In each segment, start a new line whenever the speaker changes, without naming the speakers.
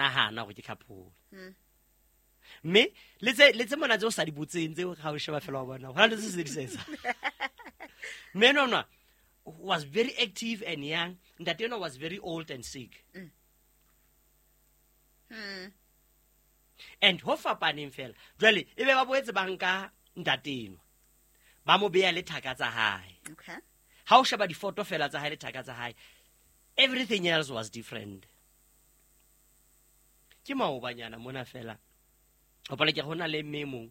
Nahana gore ke couple, mme le tse mona tse o sa di botseng, tse ga o sheba fela wa bona go na le tse se di sa etsa. Mme enwa was very active and young, ntate enwa was very old and sick and ho fapaneng fela. Jwale e be ba boetse ba nka ntate enwa, ba mo beya le thaka tsa hae. Ha o sheba difoto fela tsa hae le thaka tsa hae, everything else was different. Ke maobanyana mona fela, hopola ke go na le mme e mong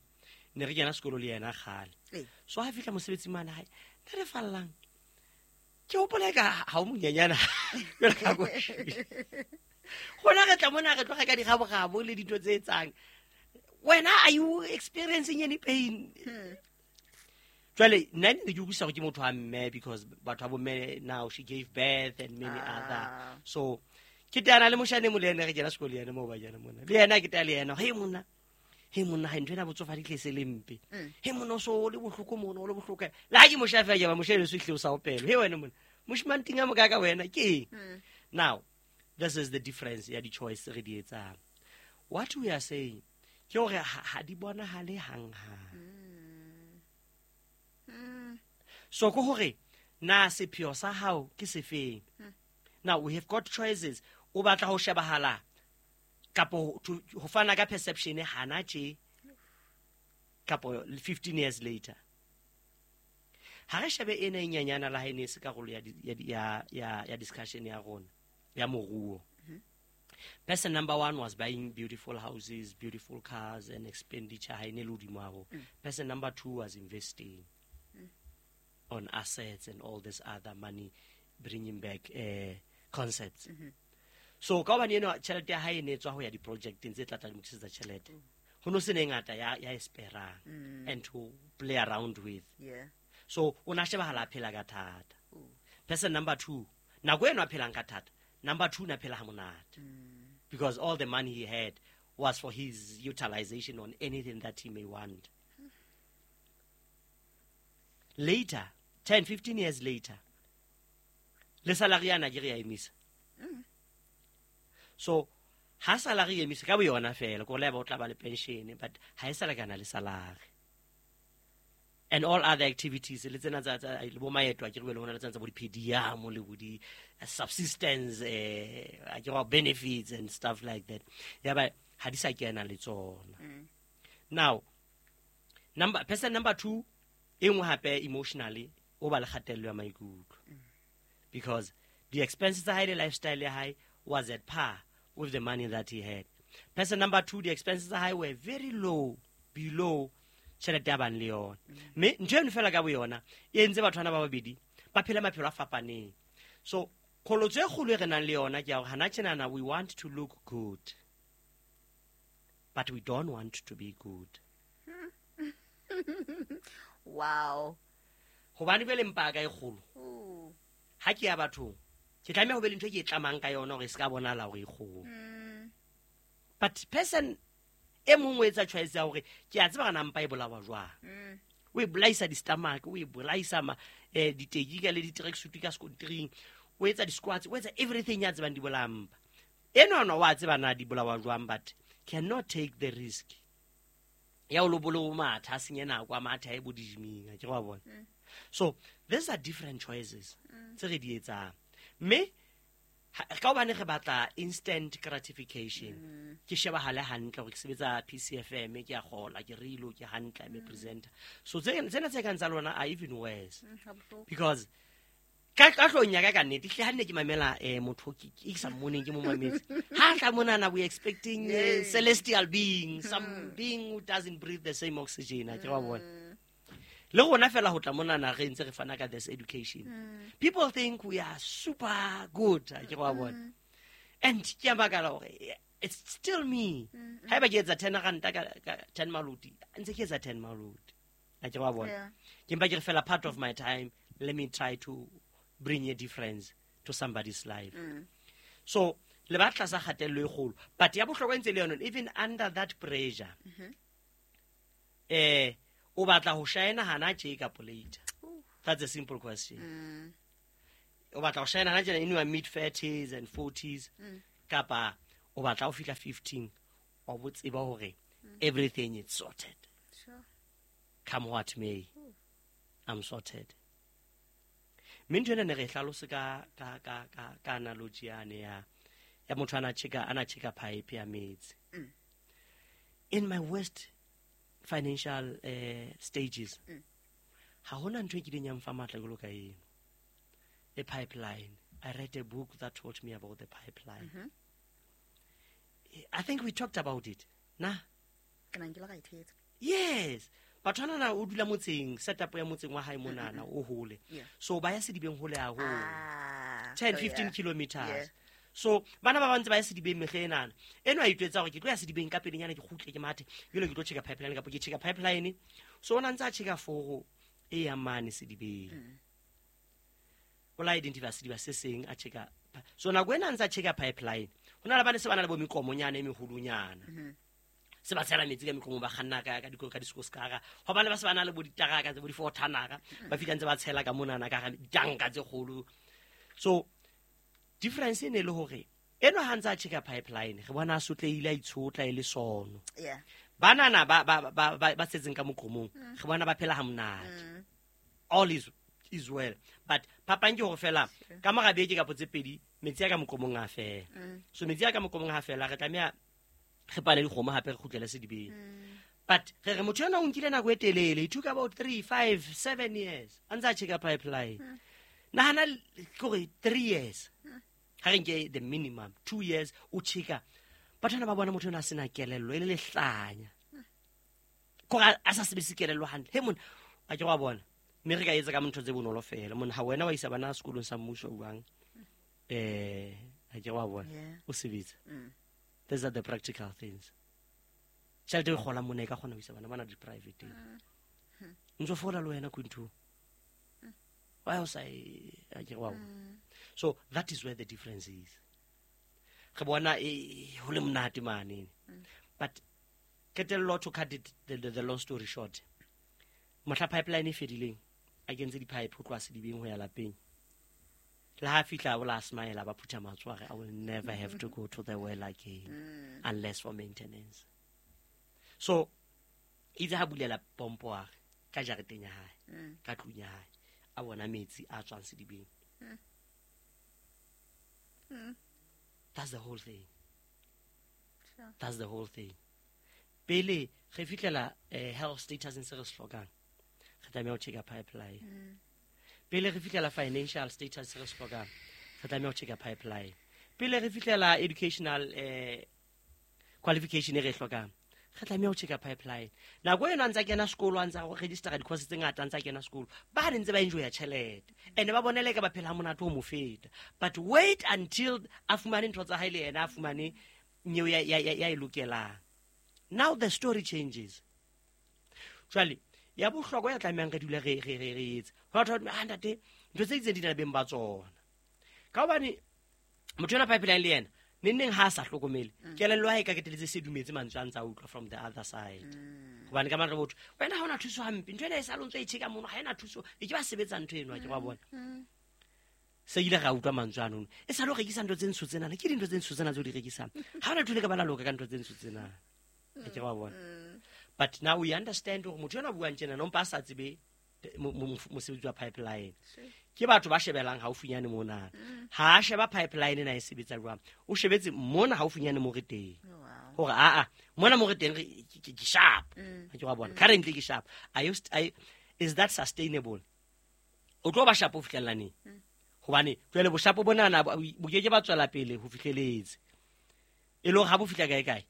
ne re kena sekolo le yena kgale. So ha fihla mosebetsing mane hae, nna re fallang ke hopola ka ha o monyenyana jwalo ka ko gona re tla mona re tloga ka digabogabo le dintho tse etsang. Wena, are you experiencing any pain? Jwale nna ne ke utlwisisa gore ke motho wa mme, because batho ba bomme, now she gave birth and many other. So ke teana le moshane mo, le ene re kena sekolo le ene mo bajana mona, le ena ke tea le ena, he monna, he monna, ha ntho ena botsofadi tle se le mpe. He monna, o so o le bohloko mona, o le bohloko le ha ke moshafe ke ba moshane so hle o sa opelo. He wena monna, moshimane a mokaka wena ke eng? Now this is the difference ya di-choice tse re di etsang. What we are saying ke hore ha di bonahale hang-hang. So ke hore na sepheo sa hao ke sefeng? Now we have got choices. O batla ho shebahala kapo ho fana ka perception hana tje kapo 15 years later? Ha re shebe ena e nyanyana la ha e ne e se karolo ya di- ya di- ya ya ya discussion ya rona ya moruo. Person number one was buying beautiful houses, beautiful cars and expenditure ha e ne le hodimo haholo. Person number two was investing on assets and all this other money bringing back concepts. So ka hobane eno tjhelete ya hae e ne e tswa ho ya di-projecteng tse tla tla mo tlisetsa tjhelete, ho no se ne e ngata ya e sperang and to play around with. So o na shebahala a phela ka thata. Person number two, nako eno a phelang ka thata, number two na phela ha monate because all the money he had was for his utilization on anything that he may want. Later, 10 15 years later, le salary yana ke re ya emisa. So ha salary e emisa ka boyona fela, ko le ba o tla ba le pension, but ha e sa lekana le salary and all other activities le tsena tsa le bo maeto a ke re le hona le tsena tsa bo di-per diem le bo di-subsistence, a ke re benefits and stuff like that, ya ba ha di sa kena le tsona. Now number person number two e nngwe hape, emotionally o ba le kgatello ya maikutlo because the expenses tsa hae le lifestyle ya hae was at par with the money that he had. Person number two, the expenses tsa hae were very low, below tjhelete ya bang le yona. Mme ntho eno fela ka boyona e entse batho bana ba babedi ba phele maphelo a fapaneng. So qholotso e kgolo e re nang le yona ke ya hore hana tjenana we want to look good, but we don't want to be good. Hobane jwale mpaka e kgolo. Ha ke ya bathong, ke tlameha ho be le ntho e ke e tlamang ka yona hore e se ka bonahala hore e kgolo. But person e mong o etsa choice ya hore ke a tseba gana mpa e bolawa jwang. O e bolaisa di-stomach, o e bolaisa ditekika le di-tracksuit ka sekontiring, o etsa di-squats, o etsa everything ya tsebang di bolaya mpa. Enwana wa tseba na di bolawa jwang, but cannot take the risk ya o lo bole o matha, a senye nako, a matha e bo di-gyming, a ke wa bona. So these are different choices tse re di etsang, mme ka hobane re batla instant gratification, ke shebahale hantle hore ke sebetsa PCFM, ke a kgola, ke rilo, ke hantle, I'm a presenter. So tsena tse kang tsa lona are even worse.
Ha bohloko.
Because ka hlong ya ka, ka nnete hle, ha nne ke mamela motho ke sa mmoneng, ke mo mametse ha tla monana, we expecting celestial being, some being who doesn't breathe the same oxygen, a ke wa bona. Le rona fela ho tla monana re ntse re fana ka this education, people think we are super good, a ke wa bona. And ke a makala hore it's still me. Haeba ke etsa 10 ranta ka 10 maloti, ntse ke etsa 10 maloti, a ke wa bona. Ke mpa ke re fela part of my time, let me try to bring a difference to somebody's life. So le ba tlasa kgatello e kgolo, but ya bohlokwa e ntse le yona, even under that pressure, o batla ho shine hana tje kapo later? That's a simple question. O batla ho shine hana tjena in your mid 30s and 40s, kapa o O batla o fihla 15 wa bo tseba hore everything is sorted.
Sure.
Come what may, I'm sorted. Mme ntho ena ne re e hlalose ka analogy yane ya motho ana checka pipe ya metsi. In my worst financial stages, ha hona ntho e kileng ya mfa matla jwalo ka eno. A pipeline. I read a book that taught me about the pipeline. I think we talked about it. Na?
Ke nang ke le ga ithetsa.
Yes. Batho ana o dula motseng, setup ya motseng wa hae monana o hole. So ba ya sedibeng hole haholo. 10 15 kilometers.
Yeah.
So bana ba bantse ba ya sedibeng mehle enana. Eno a itwetsa hore ke tlo ya sedibeng ka pelenyana ke kgutle ke mathe. Jwale ke tlo checka pipeline kapa ke checka pipeline. So ona ntse a checka foro e ya mane sedibeng. O la identify sediba se seng a checka. So nako ena ntse a checka pipeline. Hona le bana se bana le bo meqomonyana e meholonyana. Se ba tshela metsi ka meqomo ba kganna ka ka diskoskara. Ho bana ba se bana le bo ditaraka tse bo di-four-tonara, ba fihla ntse ba tshela ka monana ka hara ditanka tse kgolo. So difference e ne le hore eno ha ntse a checka pipeline, re bona a sotlehile a itshotla e le sono.
Yeah.
Banana ba setseng ka moqomong, re bona ba phela ha monate. All is well. But phapang ke hore fela ka mora beke kapa tse pedi metsi a ka moqomong a fela. So metsi a ka moqomong ha fela re tlameha re pale dikgomo hape re kgutlele sedibeng. But re re motho ena o nkile nako e telele, it took about 3, 5, 7 years a ntse a checka pipeline. Nahana kore 3 years. Ha re nke the minimum 2 years o checka. Batho bana ba bona motho ena a sena kelello e le lehlanya. Kore a sa sebedise kelello hantle. He monna, a ke wa bona. Mme re ka etsa ka ntho tse bonolo fela. Monna ha wena wa isa bana sekolong sa mmuso jwang? Ha ke wa bona. O sebetsa. These are the practical things. Tjhelete e kgola mona e ka kgona ho isa bana bana di-private. Ntso fola le wena Quinto. Why o sa e a ke wa bona. So that is where the difference is. Re bona e ho le monate mane. But qetello, to cut it the long story short. Mohla pipeline e fedileng, a kentse di-pipe ho tloha sedibeng ho ya lapeng. Le ha fihla o la smile ba phutha matsoho a re, I will never have to go to the well again unless for maintenance. So itse ha bulela pompo a re ka jareteng ya hae, ka tlung ya hae, a bona metsi a tswang sedibeng. That's the whole thing.
Sure.
That's the whole thing. Pele re fihlela health status se re se hlokang, re tlameha ho checka pipeline. Pele re fihlela financial status se re se hlokang, re tlameha ho checka pipeline. Pele re fihlela educational qualification e re e hlokang, re tlameha ho checka pipeline. Nako eno a ntsa kena sekolo, a ntsa registera di-course tse ngata, a ntsa kena sekolo, ba ne ntse ba enjoya tjhelete and ba bonele ka ba phela ha monate ho mo feta. But wait until a fumane ntho tsa hae le yena, a fumane nyeo ya e lokelang. Now the story changes. Jwale ya bohlokwa ya tlamehang re dule re etse. Ho batho ba ntate ntho tse itseng di na le beng ba tsona. Ka hobane motho ena pipeline le yena neng ha a sa hlokomele, kelello ya hae ka keteletse se dumetse mantswe a ntsa utlwa from the other side. Hobane ka mare botho wena ha ona thuso hampe, ntho ena e sa lo ntse e checka mono, ha ena thuso, e ke ba sebetsa ntho eno, ke ba bona. Se ile ra utlwa mantswe ano. E sa lo rekisa ntho tse ntsho tsena, ke dintho tse ntsho tsena tse o di rekisang. Ha ona ntho le ka bala loka ka ntho tse ntsho tsena. Ke ba bona. But now we understand hore motho ena buang tjena no mpa sa tsebe mosebetsi wa pipeline. Ke batho ba shebelang haufinyane mona. Ha a sheba pipeline ena e sebetsa jwang, o shebetse mona haufinyane mo re teng. Hore a mona mo re teng ke sharp. Ha ke wa bona. Currently ke sharp. Is that sustainable? O tlo ba sharp ho fihlella neng? Hobane jwale boshapo bonana bo ke ke ba tswela pele ho fihleletse. E le hore ha bo fihla kae kae.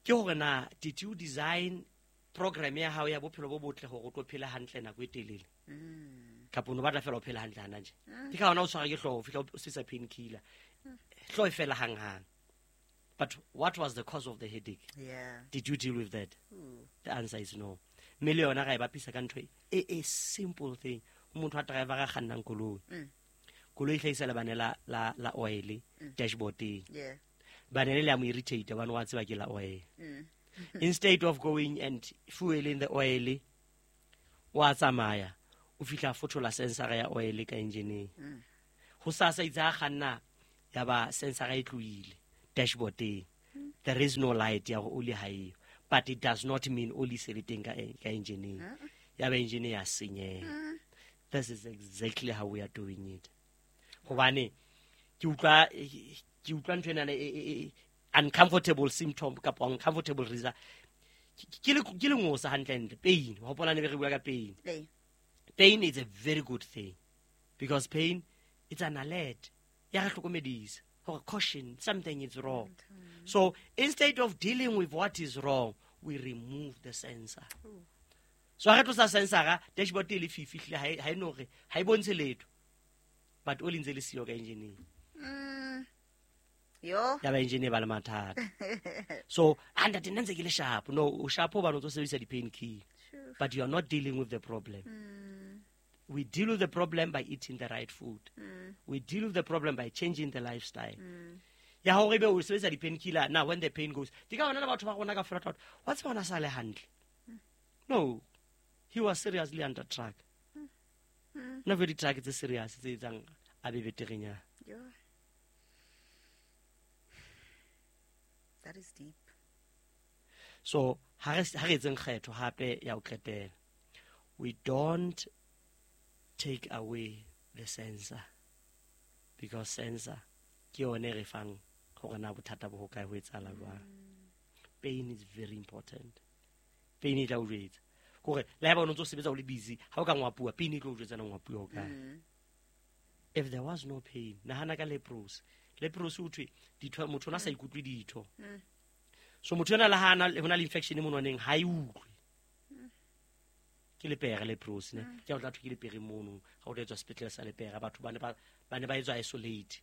Ke hore na did you design program ya hao ya bophelo bo botle hore o tlo phela hantle nako e telele? Kapa o no batla fela o phela hantle hana nje. Ke ka hona o tshwara ke hlooho, o fihla o sebedisa painkiller. Hlooho e fela hanghang. But what was the cause of the headache?
Yeah.
Did you deal with that? The answer is no. Mme le yona ra e bapisa ka ntho e simple thing. Motho a driver a kgannang koloi. Koloi e hlahisa lebane la oil dashboardeng.
Yeah.
Bane le a mo irritate bane wa tseba ke la oil. Instead of going and fueling the oil, wa tsamaya o fihla fothola sensor ya oil ka engineeng. Ho sasa itse ha kganna ya ba sensor e tlohile dashboardeng. There is no light ya gore oli ha eyo, but it does not mean oli se le teng ka engineeng. Ya ba engine ya senyeha. This is exactly how we are doing it. Hobane ke utlwa ntho ena uncomfortable symptom kapa uncomfortable result. Ke le ngosa hantle pain. Hopola ne re bua ka pain. Pain is a very good thing because pain, it's an alert. Ya re hlokomedisa hore caution, something is wrong. So instead of dealing with what is wrong, we remove the sensor. So ha re tlosa sensor, dashboard e le fifi ha e no re ha e bontshe letho. But o lentse le siyo ka engineering.
Yo.
Ya ba engineer ba le mathata. So ntate nna ntse ke le sharp. No, o sharp o ba no tso sebedisa di pain key. But you are not dealing with the problem. We deal with the problem by eating the right food. We deal with the problem by changing the lifestyle. Ya hore be o sebedisa di painkiller now when the pain goes. Di ka bona le batho ba rona ka fela what's bona sa le hantle. No. He was seriously under track. No very track tse serious tse etsang a be beterenya.
Yeah. That is deep.
So ha re etseng kgetho hape ya ho qetela. We don't take away the sensor because sensor ke yone re fang hore na bothata bo hokae ho etsahala jwang. Pain is very important. Pain e tla o jwetsa hore le haeba o ntse o sebetsa o le busy ha o ka ngwapua pain e tlo o jwetsa na ngwapua hokae. If there was no pain, nahana ka leprosy. Leprosy o thwe ditho motho ona sa ikutlwe ditho. So motho ena le ha ana hona le infection monwaneng ha e utlwe. Ke lepere leprosy ne ke o tla thwe ke lepere mono ha o tla etswa sepetlele sa lepere batho ba ne ba etswa isolate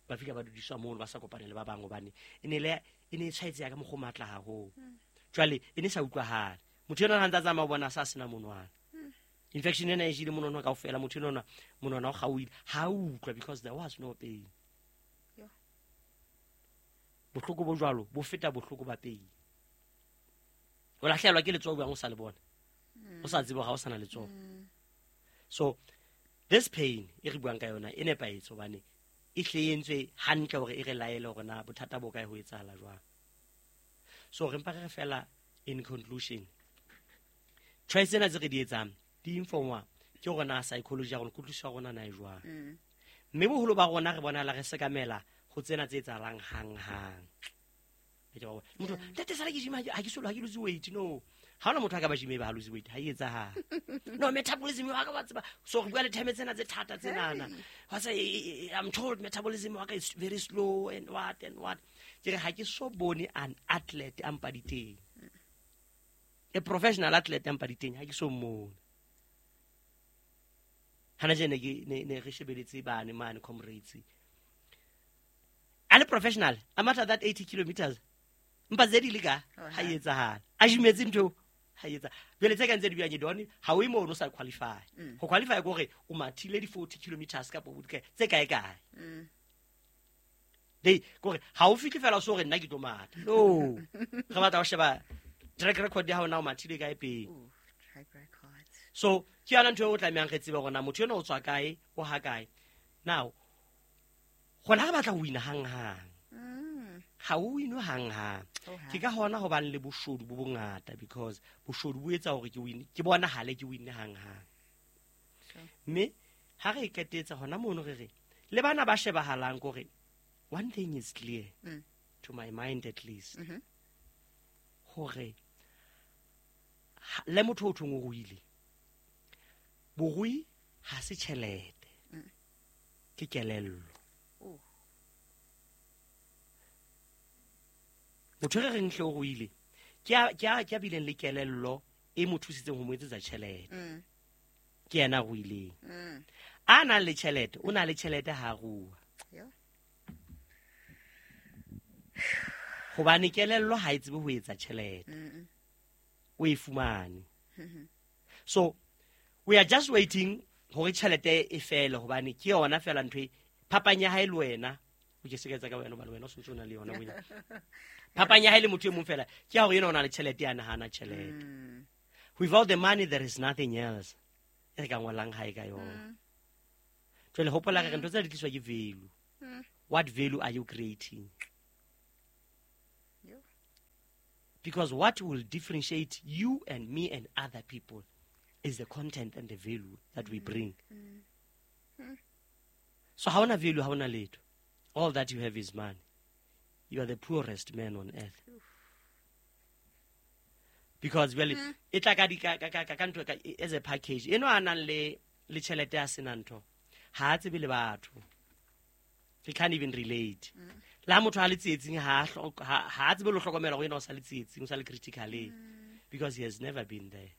ba fika ba dudiswa mono ba sa kopane le ba bang hobane e ne e tshwaetseya ka mokgwa o matla haholo. Jwale e ne sa utlwahale motho ena ha ntsa tsamaya o bona sa sena monwana. Infection ena e jele monwana kaofela motho ena monwana o kgaohile ha utlwa because there was no pain. Bohloko bo jwalo bo feta bohloko ba pain. O lahlehelwa ke letsoho bang o sa le bona. O sa tsebe ha o sana letsoho. So this pain e re buang ka yona e nepahetse hobane e hle entswe hantle hore e re laele hore na bothata bo kae ho etsahala jwang. So re mpa re fela in conclusion. Choice tsena tse re di etsang di informa ke hore na psychology ya rona kutlwisiso ya rona na e jwang. Mme boholo ba rona re bona la re sekamela ho tsena tse etsahalang hang-hang. Motho ntate sala ke gym ha ke solo ha ke lose weight no. Ha ona motho a ka ba gym ba ha lose weight ha e etsahala. No metabolism wa ka ba tseba so re bua le time tsena tse thata tsenana. Wa tsa I'm told metabolism wa ka is very slow and what and what. Ke re ha ke so bone an athlete a mpa diteng. A professional athlete a mpa diteng ha ke so mmone. Hana jene ke ne re shebeletse bane mane comrades. A le professional a matha that 80 kilometers. Mpa tse di le ka ha e etsahala. A jimetse ntho ha etsa. Jwale tse ka ntse di bua ke ha o imo o sa qualify. Ho qualify ke hore o mathile di 40 kilometers kapa bo kae tse kae kae. Dei kore ha o fihle fela so re nna ke tlo matha. No. Re batla ho sheba track record ya hao na o mathile kae pele.
Track record.
So ke yona ntho e o tlamehang re tsebe hore na motho ena o tswa kae, o ha kae. Now gona re batla ho wina hang-hang. Ha o wine hang-hang. Ke ka hona hobane le boshodu bo bongata because boshodu bo etsa hore ke win ke bona hale ke win hang-hang. Mme ha re qetetsa hona mono re re le bana ba shebahalang kore one thing is clear to my mind at least. Hore le motho o thong o ruile. Borui ha se tjhelete. Ke kelello. Motho re reng hle o ruile ke a bileng le kelello e mo thusitseng ho mo etsetsa tjhelete. Ke yena a ruileng. A nang le tjhelete o na le tjhelete ha rua. Hobane kelello ha e tsebe ho etsa tjhelete. O e fumane. So we are just waiting hore tjhelete e fele hobane ke yona fela ntho e phapang ya hae le wena. O ke se ka etsa ka wena hobane wena o sentse o na le yona bonya. Phapang ya hae le motho e mong fela ke ya hore yena o na le tjhelete ya nahana tjhelete. Without the money there is nothing else. E re ka ngolang hae ka yona. Jwale hopola re ntho tse di tliswa ke value. What value are you creating? Because what will differentiate you and me and other people is the content and the value that we bring. So ha ona value, ha ona letho. All that you have is money. You are the poorest man on earth. Because well, e tla ka di ka ka ka ntho ka as a package. Eno a nang le tjhelete ya sena ntho. Ha a tsebe le batho. He can't even relate. La motho ha le tsietsing ha ha tsebe lo hlokomela go ena o sa le tsietsing, o sa le critically, because he has never been there.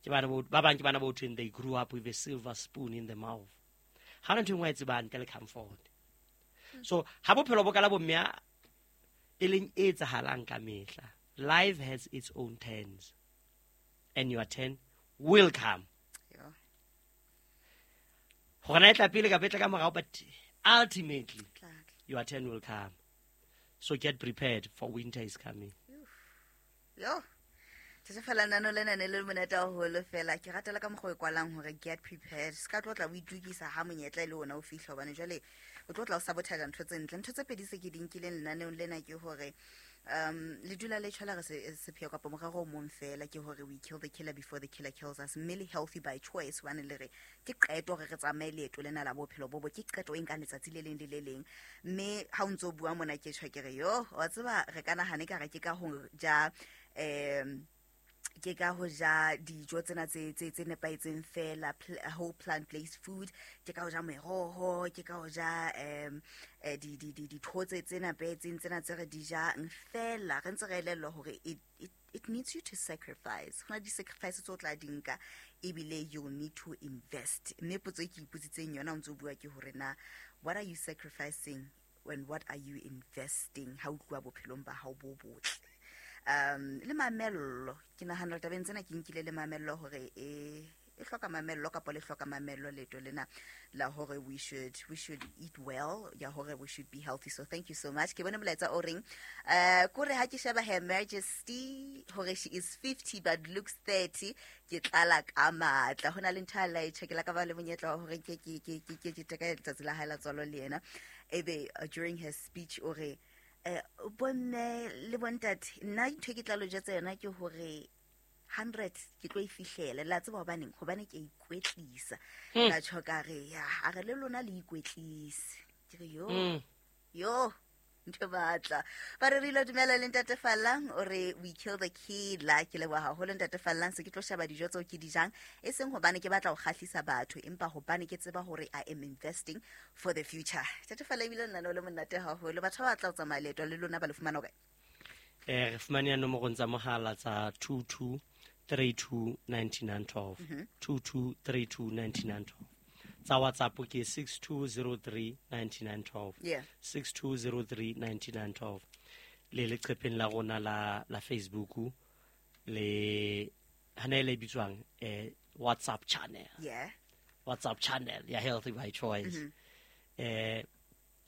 Ke bana ba bang ke bana bo thweng they grew up with a silver spoon in the mouth. Ha ntho engwe e tsebang ntle le comfort. So ha bophelo bo kala bo mme e leng e etsahalang ka mehla. Life has its own turns, and your turn will come. Hore na e tla pele kapa e tla ka morao, but ultimately your turn will come. So get prepared, for winter is coming.
Yo. Tse fela nano lena ne le monate haholo fela. Ke ratela ka mokgwa o kwalang hore get prepared. Se ka tlo tla o itukisa ha monyetla e le ona o fihla, hobane jwale o tlo tla o sabotage ntho tse ntle. Ntho tse pedi se ke di nkileng lenaneong lena ke hore le dula le tshwala re sepheo kapa morero o mong fela, ke hore we kill the killer before the killer kills us. Mme le healthy by choice, hobane le re ke qeto hore re tsamaye leeto lena la bophelo bo bo, ke qeto e nkang letsatsi le leng le le leng. Mme ha o ntso bua mona ke tjho ke re yo, wa tseba re ka nahane ka re ke ka ho ja ke ka ho ja dijo tsena tse nepahetseng fela, whole plant based food, ke ka ho ja meroho, ke ka ho ja dithotse tse nepahetseng tsena tse re di jang fela. Re ntse re elellwa hore it needs you to sacrifice. Ho na di-sacrifice tse o tla di nka, ebile you'll need to invest. Mme potso e ke ipotsitseng yona o ntso bua ke hore na what are you sacrificing and what are you investing ha o tluwa bophelong ba hao bo botle. Le mamello, ke nahana tabeng tsena ke nkile le mamello hore e hloka mamello kapa le hloka mamello leeto lena la hore we should eat well, ya hore we should be healthy. So thank you so much. Ke bone molaetsa o reng kore ha ke sheba Her Majesty hore she is 50 but looks 30, ke tlala ka matla. Hona le ntho a la e checkela ka ba le monyetla wa hore ke teka letsatsi la hae la tswalo le yena. Ebe during her speech o re bomme le bontate, nna ntho e ke tla lo jetsa yona ke hore 100 ke tlo e fihlela. La tseba hobaneng? Hobane ke ikwetlisa. La tjho ka re ya, a re le lona le ikwetlise. Ke re yo, yo ntho batla. Ba re re dumela le Ntate Fallang, o re we kill the killer. Ke leboha haholo Ntate Fallang, se ke tlo sheba dijo tseo ke di jang, e seng hobane ke batla ho kgahlisa batho, empa hobane ke tseba hore I am investing for the future. Ntate Fallang, ebile nna le monate haholo. Batho ba batla ho tsamaya leeto le lona ba le fumana kae?
Re fumane ya nomorong tsa mohala tsa 22 32 99 12, 22 32 99 12. Tsa WhatsApp ke 6203 99 12, 6203 99 12. Le leqepheng la rona la Facebook le hana le bitswang WhatsApp channel.
Yeah.
WhatsApp channel ya Healthy by Choice.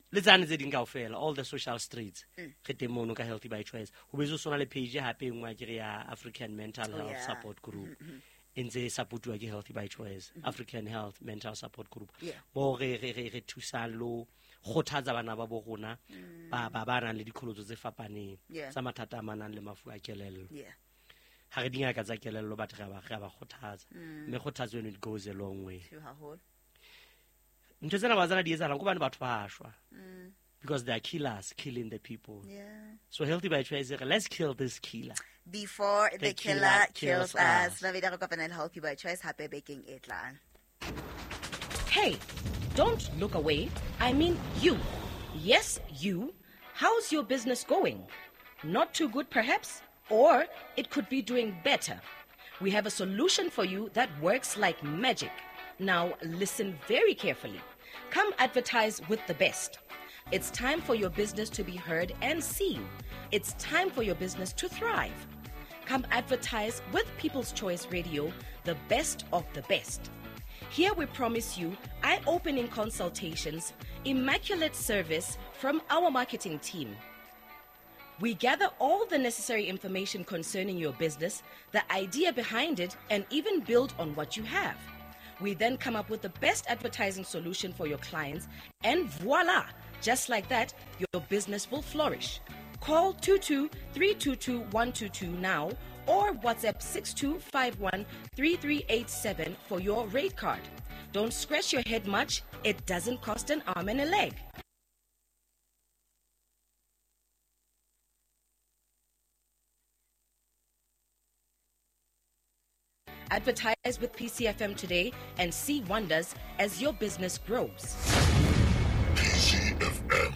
Le tsane tse ding kaofela, all the social streets. Re teng mono ka Healthy by Choice. Ho betse sona le page hape e nngwe ke re ya African Mental Health Support Group. E ntse e supportuwa ke Healthy by Choice, African Health Mental Support Group. Mo re thusang lo kgothatsa bana ba bo rona ba nang le dikholotso tse fapaneng tsa mathata a manang le mafu a kelello. Ha re dingaka tsa kelello, batho re ba kgothatsa. Mme kgothatso eno it goes a long way. Ntho tsena ba tsena di etsahalang ke hobane batho ba shwa. Because they are killers killing the people.
Yeah.
So Healthy by Choice, let's kill this killer
before the killer kills us. Healthy by Choice, hape bekeng e tlang.
Hey, don't look away. I mean you. Yes, you. How's your business going? Not too good, perhaps? Or it could be doing better. We have a solution for you that works like magic. Now listen very carefully. Come advertise with the best. It's time for your business to be heard and seen. It's time for your business to thrive. Come advertise with People's Choice Radio, the best of the best. Here we promise you eye-opening consultations, immaculate service from our marketing team. We gather all the necessary information concerning your business, the idea behind it, and even build on what you have. We then come up with the best advertising solution for your clients, and voila, Just like that, your business will flourish. Call 22 322 122 now or WhatsApp 6251 3387 for your rate card. Don't scratch your head much, it doesn't cost an arm and a leg. Advertise with PCFM today and see wonders as your business grows.
PCFM,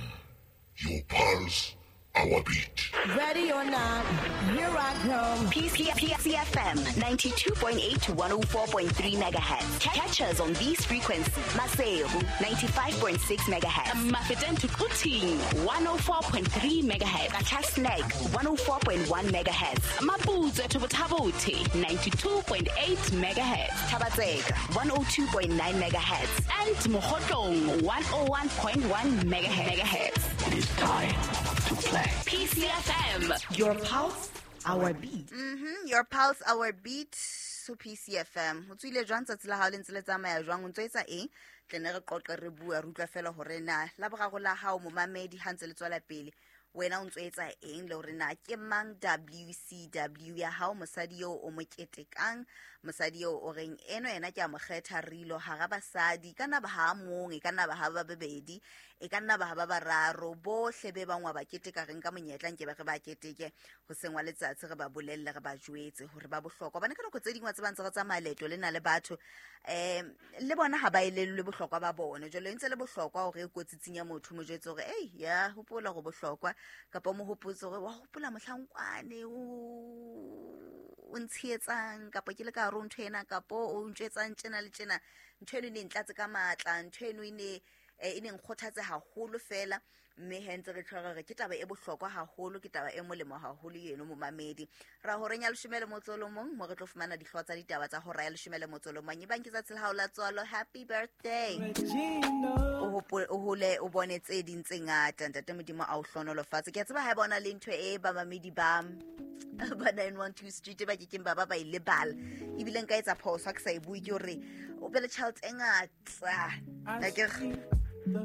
your pulse, our beat.
Ready or not, here I come.
PCFM 92.8 to 104.3 megahertz. Catch us on these frequencies. Maseru 95.6 megahertz.
Mafeteng to Quthing 104.3 megahertz.
Qacha's Nek 104.1 megahertz.
Maputswe to Botha-Bothe 92.8 megahertz.
Thaba-Tseka 102.9 megahertz.
And Mokhotlong 101.1 megahertz.
It is time to play.
PCFM.
Your pulse, our beat.
Your pulse, our beat. So PCFM. Ho tswile jwang tsatsi la hao le ntse le tsamaya jwang, o ntso etsa eng? Tle ne re qoqe re bua, re utlwa fela hore na la boraro la hao momamedi ha ntse le tswela pele, wena o ntso etsa eng, le hore na ke mang WCW ya hao, mosadi eo o mo ketekang, mosadi eo o reng eno yena ke a mo kgetha rilo hara basadi, ka nna ba ha mong, e ka nna ba ha ba babedi, e ka nna ba ha ba bararo, bohle be bang wa ba keteka, re nka monyetla nke ba re ba keteke hoseng wa letsatsi, re ba bolelle, re ba jwetse hore ba bohlokwa. Hobane ka nako tse ding wa tseba ntse re tsamaya leeto lena le batho, le bona ha ba elellwe bohlokwa ba bona. Jwale e ntse le bohlokwa hore e kotsitsing ya motho, mo jwetse hore ei ya hopola hore bohlokwa, kapa mo hopotse hore wa hopola mohlankwane o ntshehetsang, kapa ke le ka hare ho ntho ena, kapa o ntjwetsang tjena le tjena, ntho eno e ne ntlatse ka matla, ntho eno e ne e ne nkgothatse haholo fela. Mme he ntse re tshwara re ke taba e bohlokwa haholo, ke taba e molemo haholo eno momamedi. Ra horeng ya 11 mo re tlo fumana dihlooho tsa ditaba tsa hora ya 11. Ebang ke tsatsi la hao la tswalo, happy birthday. O hole o bone tse ding tse ngata, ntate Modimo a o hlohonolofatse. Ke a tseba ha e bona le ntho e bamamedi ba ba 912 Street ba kekeng ba ba e lebala, ebile nka etsa phoso ha ke sa e bue, ke hore o be le tjhelete e ngata.